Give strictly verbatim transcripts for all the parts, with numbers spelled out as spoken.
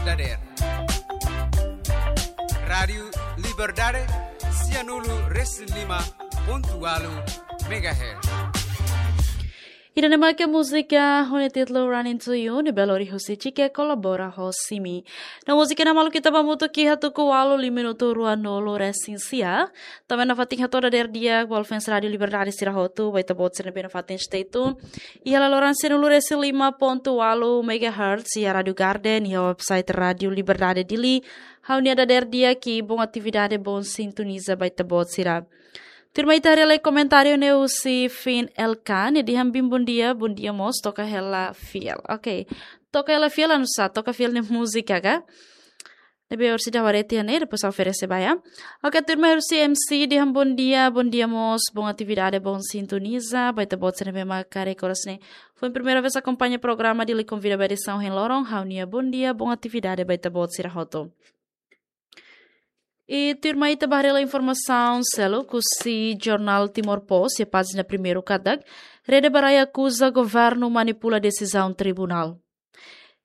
dadeer. Rádiu Liberdade, sianulu resin lima pontu walu megahertz. Ida-ne'e mak múzika ho nia títulu Running to You, ne'ebé lori husi Chike kolabora ho Simi. No múzika ne'e maluk ita ba hamutuk iha tuku ualu liu minutu ruanulu resin sia. Tanba nafatin hato'o dadeer di'ak ba fans Rádiu Liberdade sira hotu, ba ita-boot sira ne'ebé nafatin stay tune iha laloran sianulu resin lima pontu walu megahertz iha Rádiu Garden, iha website Rádiu Liberdade Dili. Ha'u-nia dadeer di'ak i bom atividade, bom sintoniza ba ita-boot sira. Tuirmai ita haree lai komentáriu ne'e husi Fin L K, nia dehan bom dia, bom dia mós, toka hela fiel. Ok. Toka hela fiel anu sá, toka fiel ne'e múzika ka? Ne'ebé orsida wareti ne'e, depois oferese ba, ya. Ok, tuirmai husi M C dehan bom dia, bom dia mós, bom atividade, bom sintoniza ba ita-boot sira ne'ebé mak haree oras ne'e. Foin primeira vez akompaña programa Dili Konvida ba edisaun hein loron, ha'u-nia bom dia, bom atividade ba ita-boot sira hotu. I tuirmai ita ba haree lai informasaun seluk husi jornál Timor Post iha pájina primeiru katak, Rede ba Rai akuza governu manipula desizaun tribunál.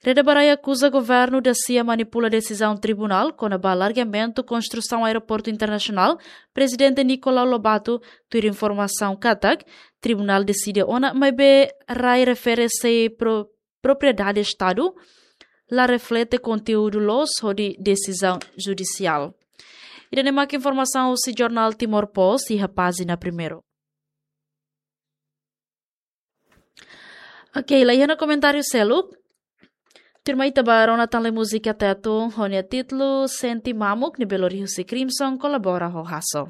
Rede ba Rai akuza governu dasia manipula desizaun tribunál kona-ba alargamentu konstrusaun aeroportu internasionál. Prezidente Nicolau Lobato tuir informasaun katak tribunál deside ona, maibé rai refere sei pro-, propriedade Estadu, la reflete konteúdu loos hodi desizaun judisiál. Ida-ne'e mak informasaun husi jornál Timor Post iha pájina primeiru. Ok, la iha ona komentáriu seluk. Tuirmai ita ba rona tan lai múzika Teto ho nia títulu Sente Mamuk, ne'ebé lori husi Crimson kolabora ho Hasso.